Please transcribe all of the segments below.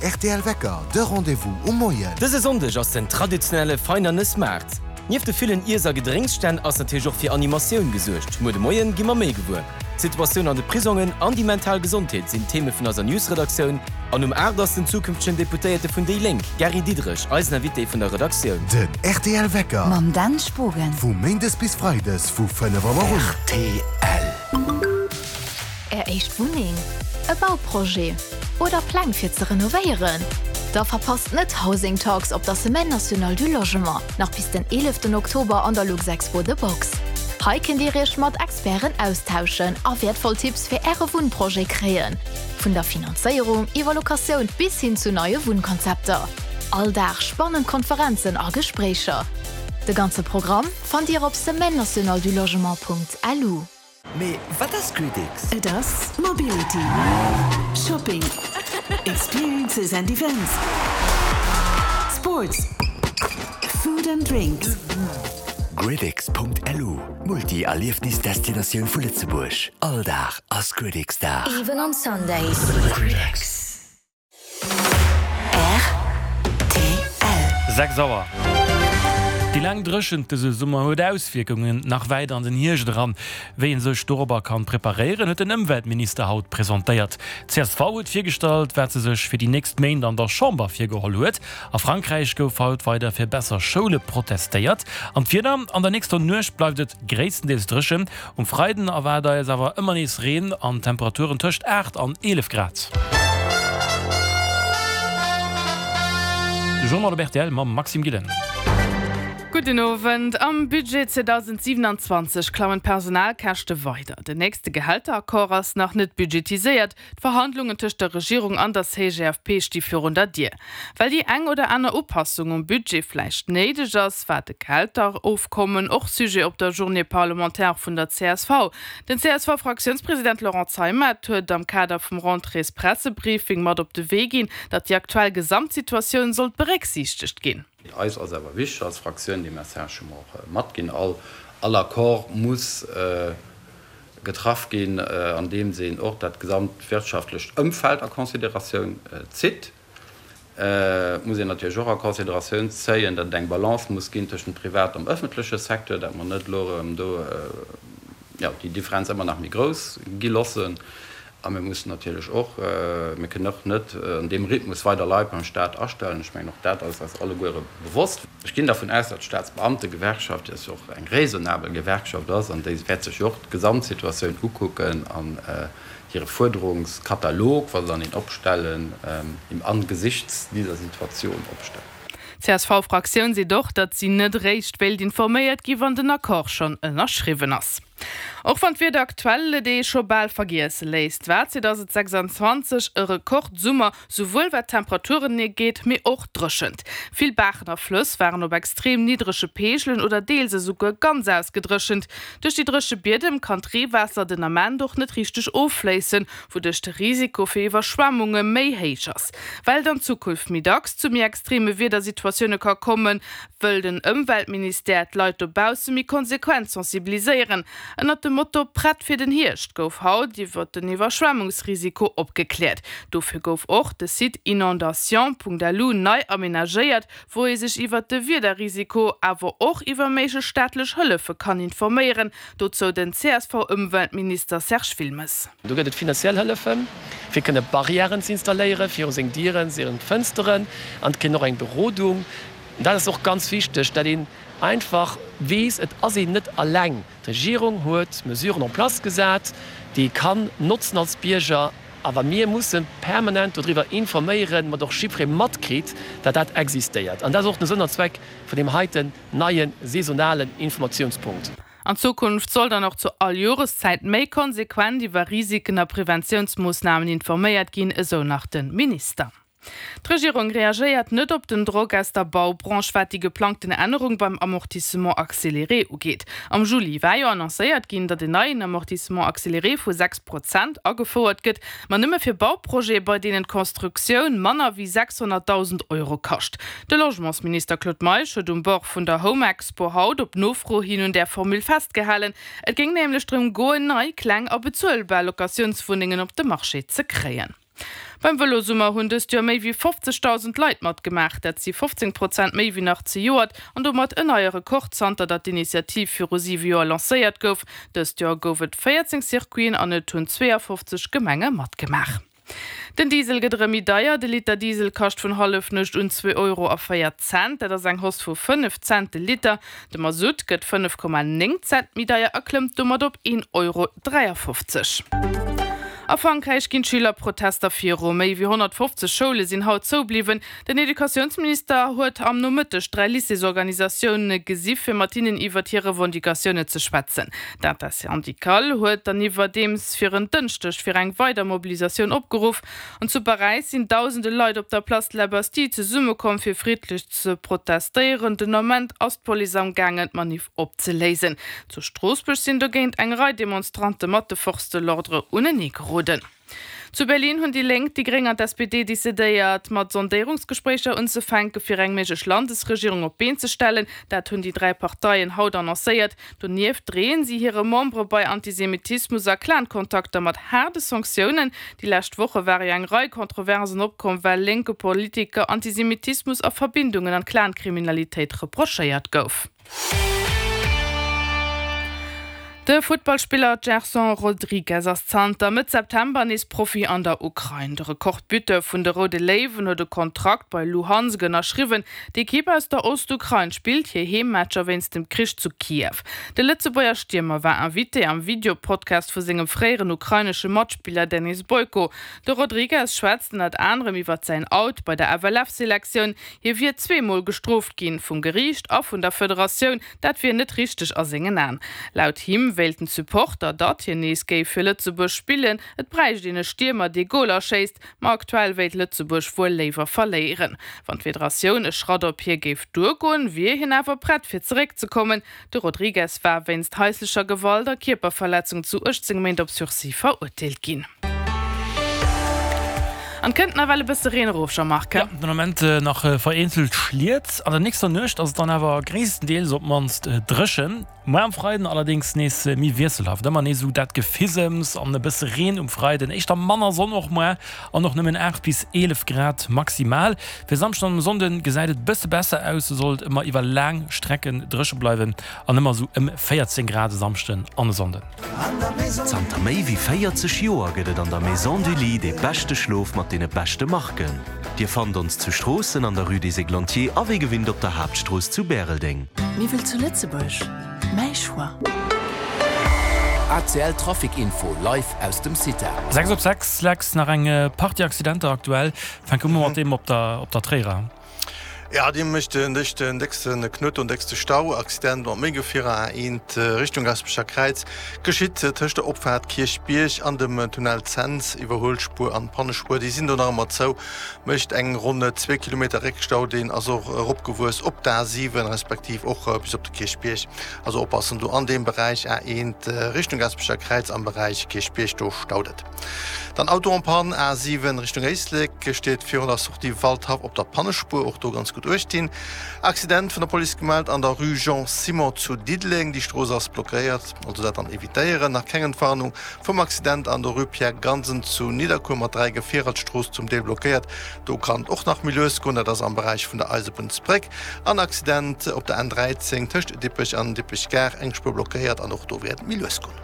rtl Wecker, de Rendez-vous um Moien. Dëse Sonndeg ass den traditionelle Veinernes Maart. Nieft de villen Iess a Gedrénksstänn ass natierlech och fir Animatioun gesuergt. Muer de Moien gi mer méi gewuer. D'Situatioun an de Prisongen an déi mental Gesondheet sinn d'Theme vun eiser News-Redaktioun. An um 8 ass den zukünftegen Deputéierte vun déi Lénk, Gary Diderich, eisen Invité vun der Redaktioun. Den rtl Wecker. Mam Dan Spogen. Vu Méindes bis Freides vu 5 Auer un. Rtl. Är éischt Wunneng, e Bauprojet oder Pläng fir ze renovéieren? Da verpasst net Housing Talks op der Semaine Nationale du Logement, nach bis den 11 Oktober an der Luxexpo The Box. Hei kënnt Dir Iech mat Experten austauschen a wäertvoll Tipps fir Äre Wunnprojet kréien, vun der Finanzéierung iwwer Locatioun bis hin zu neie Wunnkonzepter. All Dag spannend Konferenzen a Gespréicher. De ganze Programm fannt Dir op semaine-nationale-du-logement.lu. Mee wat ass GridX? Et ass Mobility, Shopping, Experiences and Events, Sports, Food and Drinks. GridX.lu, D'Multi-Erliefnis-Destinatioun vu Lëtzebuerg. All Dag ass GridX-Dag. Even on Sundays. GridX. Rtl. 6 Auer. Déi laang Dréchent dëse Summer huet Auswierkungen nach wäit an den Hierscht eran. Wéi ee sech dorobber kann preparéieren, huet den Ëmweltminister haut presentéiert. Csv huet virgestallt, wat se sech fir déi nächst Méint an der Chamber virgeholl huet. A Frankräich gouf haut weider fir besser Schoule protestéiert. An d'Wieder, An der nächster Nuecht bleift et gréisstendeels dréchen. Um Freiden erwaart eis awer ëmmer nees Reen an Temperaturen tëscht 8 an 11 Grad. De Journal op rtl mam Maxime Gillen. Gudden Owend. Am Budget 2027 klammen d'Personalkäschte weider. Den nächste Gehälteraccord ass nach net budgetiséiert. D'Verhandlungen tëscht der Regierung an der CGFP sti virun der Dier. Well déi eng oder aner Upassung um Budget vläicht néideg ass, war de Gehälterofkommen och Sujet op der Journée parlementaire vun der csv. Den CSV-Fraktiounspresident Laurent Zeimet huet am Kader vum Rentréespressebriefing mat op de Wee ginn, datt déi aktuell Gesamtsituatioun sollt berécksiichtegt ginn. Eis ass awer wichteg als Fraktioun, dee Message hu mer och matginn, all Accord muss getraff ginn, andeems een och dat gesamt wirtschaftlecht Ëmfeld a Consideratioun zitt. Et muss een natierlech och a Consideratioun zéien, datt et eng Balance muss ginn tëschent privat am ëffentleche Secteur, datt mer net elo erëm do, jo, déi Differenz ëmmer nach méi grouss gi loossen. A mir mussen natierlech och, mir kënnen och net an deem Rhythmus weider Leit beim Stat astellen. Ech mengen, och dat ass eis alleguere bewosst. Ech ginn dervun aus, datt d'Staatsbeamtegewerkschaft, déi jo och eng raisonnabel Gewerkschaft ass, an déi wäert sech jo och d'Gesamtsituatioun ukucken an hire Fuerderungskatalog, wa se dann een opstellen, im Angesichts dieser Situation opstellen. D'CSV-Fraktioun seet och, datt si net eréischt wéilt informéiert gi wann den Accord schonn ënnerschriwwen ass. Och wann d'Wieder aktuell et ee scho bal vergiesse léisst, war 2026 e Rekordsummer, souwuel wat d'Temperaturen ugeet, mee och d'Dréchent. Vill Baachen a Flëss waren op extrem niddrege Peegelen oder deels esouguer ganz ausgedréchent. Duerch déi dréche Biedem kann d'Reewaasser den Ament och net richteg offléissen, wouduerch de Risiko fir Iwwerschwemmunge méi héich ass. Well et an Zukunft méi dacks zu méi extreme Wiedersituatioune ka kommen, wëll den Ëmweltministère d'Leit dobausse méi konsequent sensibiliséieren. Ënnert dem Motto Prett fir den Hierscht gouf haut iwwer den Iwwerschwemmungsrisiko opgekläert. Dofir gouf och de Site inondation.lu nei amenagéiert, wou ee sech iwwer de Wiederrisiko, awer och iwwer méiglech staatlech Hëllefe kann informéieren. Dozou den CSV-Ëmweltminister Serge Wilmes. Do gëtt et finanziell Hëllefen, fir kënne Barrièren ze installéieren viru seng Dieren, seng Fënsteren an et kritt een och eng Berodung. Dat ass och ganz wichteg, dat een einfach weess, et ass een net alleng. D'Regierung huet Mesuren en place gesat, déi ee kann notzen als Bierger, awer mir musse permanent dodriwwer informéieren, mat och jiddweree matkritt, dat dat existéiert. An dat ass och den Sënn an Zweck vun deem heiten neie saisonalen Informatiounspunkt. An Zukunft soll dann och zu all Joreszäit méi konsequent iwwer Risiken a Preventiounsmoossnamen informéiert ginn, esou nach de Minister. D'Regierung reagéiert net op den Drock aus der Baubranche, wat déi geplangten Ännerung beim Amortissement accéléré ugeet. Am Juli war jo annoncéiert ginn, datt en neien Amortissement accéléré vu 6 Prozent agefouert gëtt, ma nëmme fir Bauprojete, bei deenen d'Constructioun manner wéi 600.000 Euro kascht. De Logementsminister Claude Meisch huet um Bord vun der Home-Expo haut op Nofro hin un där Formule festgehalen. Et géing nämlech drëm goen, nei, kleng a bezuelbar Locatiounswunnengen op de Marché ze kréien. Beim Vëlosummer hunn dëst Joer méi wéi 50.000 Leit matgemaach. Dat si 15 Prozent méi wéi nach zejoert an domat en neie Rekord zanter datt d'Initiativ viru siwe Joer lancéiert gouf. Dëst Joer gouf et 14 Circuiten an et hunn 52 Gemenge matgemaach. Den Diesel gëtt erëm méi deier. De Liter Diesel kascht vun Hallefnuecht un 2 Euro a 4 Cent. Dat ass eng Hausse vu 5 Cent de Liter. De Masutt gëtt 5,9 Cent méi deier a klëmmt domat op 1,53 Euro. A Frankräich ginn d'Schülerprotester viru. Méi wéi 150 Schoule sinn haut zoubliwwen. Den Educatiounsminister huet am Nomëtteg 3 Lycéesorganisatioune gesi fir mat hinnen iwwert hir Revendicatioune ze schwätzen. D'Intersyndicale huet dann iwwerdeems fir en Dënschdeg fir eng weider Mobilisatioun opgeruff. An zu Paräis sinn dausende Leit op der Place de la Bastille zesummekomm fir friddlech ze protestéieren. Den Ament ass d'Police am gaangen d'Manif opzeléisen. Zu Stroossbuerg sinn dogéint eng Rei Demonstrante mat de Forces de l'ordre unenee geroden. Zu Berlin hunn déi Lénk, déi Gréng an d'SPD decidéiert, mat Sondéierungsgespréicher unzefänke fir eng méiglech Landesregierung op d'Been ze stellen. Dat hunn déi 3 Parteien haut annoncéiert. Donieft dreeën si hire Membere bei Antisemitismus a Clan-Kontakter mat haarde Sanktiounen. Déi lescht Woche ware jo eng Rei Kontroversen opkomm, well lénke Politiker Antisemitismus a Verbindungen an d'Clan-Kriminalitéit reprochéiert gouf. De Futtballspiller Gerson Rodrigues ass zanter Mëtt September nees Profi an der Ukrain. De Rekordbuteur vun de Roude Léiwen huet e Kontrakt bei Luhansk ënnerschriwwen. D'Ekipp aus der Ostukrain spillt hir Heemmatcher wéinst dem Krich zu Kiew. De Lëtzebuerger Stiermer war Invité am Video-Podcast vu sengem fréieren ukrainesche Matspiller Denis Boyko. De Rodrigues schwätzt ënnert anerem iwwert säin Out bei der FLF-Selektioun, Hie wier zweemol gestrooft ginn, vum Geriicht a vun der Federatioun. Dat wier net richteg a sengen Aen. Laut him wéilten d'Supporter, datt hien nees géif fir Lëtzebuerg spillen. Et bräicht een e Stiermer, dee Goler schéisst. Ma aktuell wéilt Lëtzebuerg wuel léiwer verléieren. Wann d'Federatioun e Schratt op hie géif duergoen, wier hien awer prett fir zeréckzekommen. De Rodrigues war wéinst haislecher Gewalt a Kierperverletzung zu 18 Méint op Sursis verurteelt ginn. An kënnt nawell e bësse Reen erof, Jean-Marc? Jo, den Ament nach vereenzelt Schliet. An der nächster Nuecht ass et dann awer gréisstendeels op d'mannst dréchen. Muer am Freiden allerdéngs nees méi wiesselhaft, ëmmer nees esou dat Gefisems an e bësse Reen um Freiden, éischter manner Sonn och muer an och nëmmen 8 bis 11 Grad maximal. Fir Samschden an Sonnden gesäit et bësse besser aus, do soll et ëmmer iwwer laang Strecken dréche bleiwen an ëmmer esou ëm 14 Grad e Samschden an e Sonnden. Zanter méi wéi 40 Joer gëtt et an der Maison du Lit dee beschte Schlof mat deene beschte Marken. Dir fannt ons zu Stroossen an der Rue des Églantiers a wéi gewinnt op der Haaptstrooss zu Bäreldeng. Miwwel zu Lëtzebuerg, mäi Choix. ACL Trafic Info live aus dem CITA. 6 op 6, Lex, nach eng Partie Accidenter aktuell. Fänke mer mat deem op der op der Tréier. Ja, dee mécht den décksten déckste Knuet an déckste Stau. Accident mat méi Gefierer A1 Richtung Gaspecher Kräiz geschitt tëscht der Opfaart Kierchbierg an dem Tunnel Cents. Iwwerhuelspuer an Pannespuer, déi sinn do nach ëmmer zou. Mécht eng ronn zwee Kilometer Réckstau. Deen ass och eropgewuess op d'A7 respektiv och bis op de Kierchbierg. Also oppassen do an deem Beräich A1 Richtung Gaspecher Kräiz am Beräich Kierchbierg, do staut et. Dann Auto en panne, A7 Richtung Éislek, steet virun der Sortie Waldhaff op der Pannespuer, och do ganz gutt uecht dinn. Accident vun der Police gemellt an der Rue Jean Simon zu Diddeleng, déi Strooss ass blockéiert, also dat dann evitéieren. Nach keng Entwarnung vum Accident an der Rue Pierre Gansen zu Nidderkuer mat 3 Gefierer, d'Strooss zum Deel blockéiert, do kann et och nach méi lues goen, dat ass am Beräich vun der Eisebunnsbréck. An Accident op der N13 tëscht Dippech an Dippech Gare, eng Spuer blockéiert an och do wäert et méi lues goen.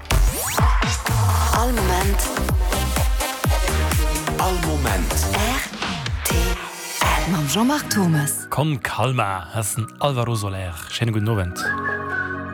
All Moment. All Moment. Rtl. Mam Jean-Marc Thomas. Con calma, ass den Alvaro Soler. Schéine gudden Owend.